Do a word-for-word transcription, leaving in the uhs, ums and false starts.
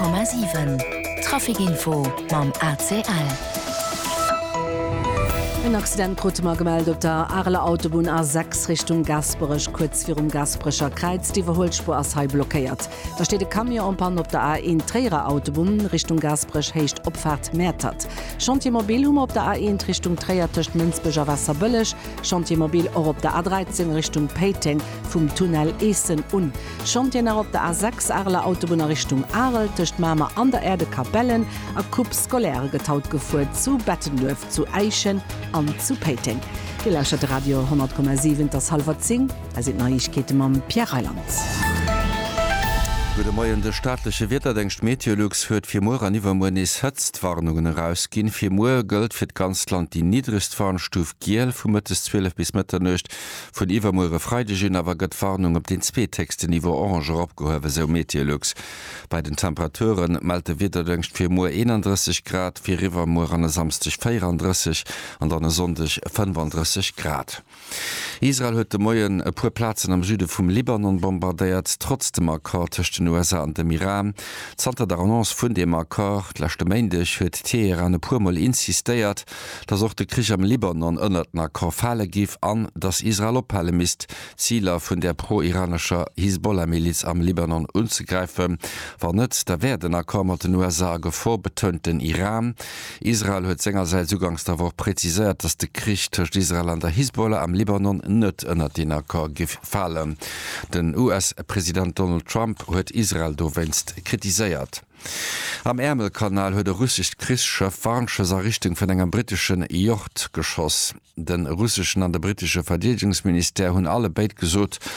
Honnert Komma siwen, Trafic Info mam A C L. En Accident krute mer gemellt op der Areler Autobunn A sechs Richtung Gaasperech, kuerz virum Gaasperecher Kräiz. D'Iwwerhuelspuer ass hei blockéiert. Da steet e Camion en panne op der A eent Tréierer Autobunn Richtung Gaasperech, Héicht Opfaart Mäertert. Chantier mobile hu mer op der A eent Richtung Tréier tëscht Mënsbech a Waasserbëlleg. Chantier mobile och op der A dräizéng Richtung Péiteng vum Tunnel Eessen un. Chantier nach op der A sechs Areler Autobunn a Richtung Arel tëscht Mamer an der Aire de Capellen a Coupe scolaire gëtt haut gefuer zu Bettenduerf, zu Äischen an zu Péiteng. Dir lauschtert de Radio honnert Komma siwen, et ass hallwer zéng, hei sinn d'Neiegkeete mam Pierre Reyland. Gudde Moien, De staatleche Wiederdéngscht Meteolux huet fir muer an iwwermuer nees Hëtztwarnungen erausginn. Fir muer gëllt fir d'ganzt Land déi niddregst Warnstuf giel vu mëttes zwielef bis Mëtternuecht. Vun iwwermuer e Freideg un awer gëtt d'Warnung op deen zweethéchsten Niveau orange eropgehuewen, sou Meteolux. Bei den Temperature mellt de Wiederdéngscht fir muer eenandrësseg Grad, fir iwwermuer an e Samsdeg véierandrësseg an dann e Sonndeg fënnefandrësseg Grad. Israel huet de Moien e puer Plazen am Süde vum Libanon bombardéiert, trotz dem Accord tëscht den U S A an dem Iran. Zanter der Annonce vun deem Accord leschte Méindeg huet Teheran e puer Mol insistéiert, datt och de Krich am Libanon ënnert den Accord fale géif an datt Israel ophale misst, Ziler vun der pro-iranescher Hisbollah-Miliz am Libanon unzegräifen. Wann net, da wär den Accord mat den U S A a Gefor, betount den Iran. Israel huet sengersäits uganks der Woch präziséiert, datt de Krich tëscht Israel an der Hisbollah am Libanon net ënnert den Accord géif falen. Den U S-President Donald Trump huet Israel dowéinst kritiséiert. Am Äermelkanal huet e russescht Krichsschëff Warnschëss a Richtung vun engem britteschen Yacht geschoss. De russeschen an de brittesche Verdeedegungsministère hunn alle béid gesot,